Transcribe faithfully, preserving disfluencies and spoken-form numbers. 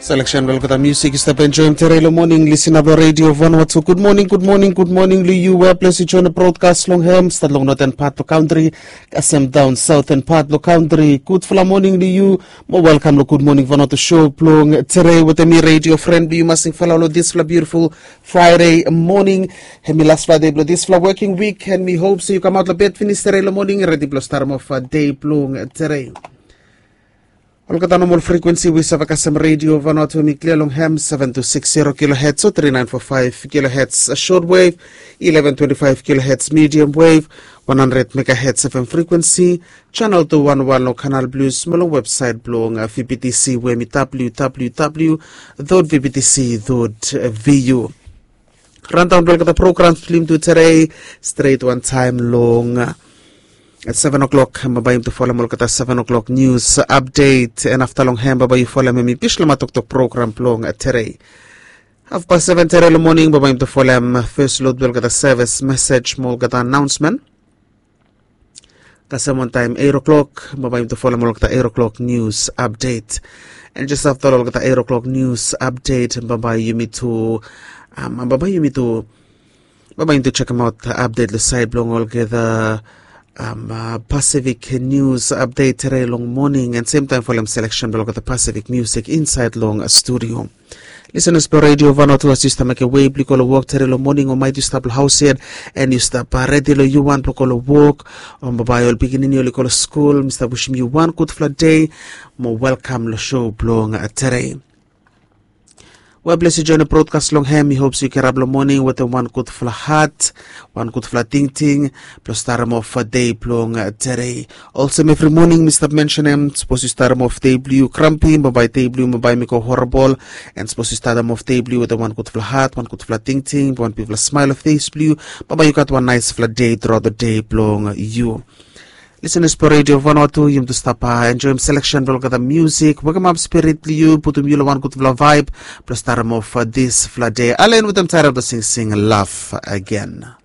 Selection blong olgeta music yu stap enjoim tere long morning. Lisin ap long Radio Vanuatu. Good morning, good morning, good morning long yu. Where place yu join the broadcast long hem, start long northern part long country, kasem down southern part long country. Good fala morning long yu. Mo welcome long Good Morning Vanuatu show blong tere with me radio friend blong yu masing fala long this fala beautiful Friday morning. Hemi last Friday blong this fala working week, and mi hope so yu come out long bed finish tere long morning, ready blong start off a day blong tere. Olgeta normal frequency we save kasem Radio Vanuatu, mi clear long hem seven two six zero kilohertz o three nine four five kilohertz short wave, eleven twenty-five kilohertz medium wave, one hundred megahertz F M frequency, channel two one one long Canal Plus, mo long website blong V B T C we mi W W W dot V B T C dot V U. Rundown blong olgeta programs blong yumi tu tere, stret wan taem long seven o'clock, bambae yumi tu folem olgeta seven o'clock news update, and afta long hem bambae yu folem hemi Bislama Toktok program blong tere. Hafpas seven tere long morning bambae yumi tu folem first load blong olgeta service message mo olgeta announcement. Kasem wan taem eight o'clock bambae yumi tu folem olgeta eight o'clock news update. And just afta olgeta eight o'clock news update bambae yumi tu, bambae yumi tu bambae yumi tu chekem aot update long saed blong olgeta Pacific news update tere long morning, and same taem folem selection blong olgeta Pacific music insaed long studio. Lisenas blong Radio Vanuatu, as yu stap mekem wei blong yu go long wok tere long morning, o maet yu stap long haos yet, and yu stap redi long yu wan blong go long wok, o bambae ol pikinini oli go long skul, mi stap wisim yu wan gudfala dei mo welkam long show blong tere. Wea ples yu join broadcast long hem, mi hope so yu kirap long morning wetem wan gudfala hat, wan gudfala tingting blong starem of dei blong tere. Olsem evri morning mi stap mensenem, sapos yu starem of dei blong yu krampi, bambae dei blong yu bambae mi go horabol. And sapos yu starem of dei blong yu wetem wan gudfala hat, wan gudfala tingting, wan bigfala smael long fes blong yu, bambae yu gat wan naesfala dei truaot long dei blong yu. Lisenas blong Radio Vanuatu, yumi tu stap enjoim selection blong olgeta musik, wekemap spirit blong yu, putum yu long wan gudfala vaeb blong starem of disfala dei. Alen wetem Taerap blong singsing Love Again.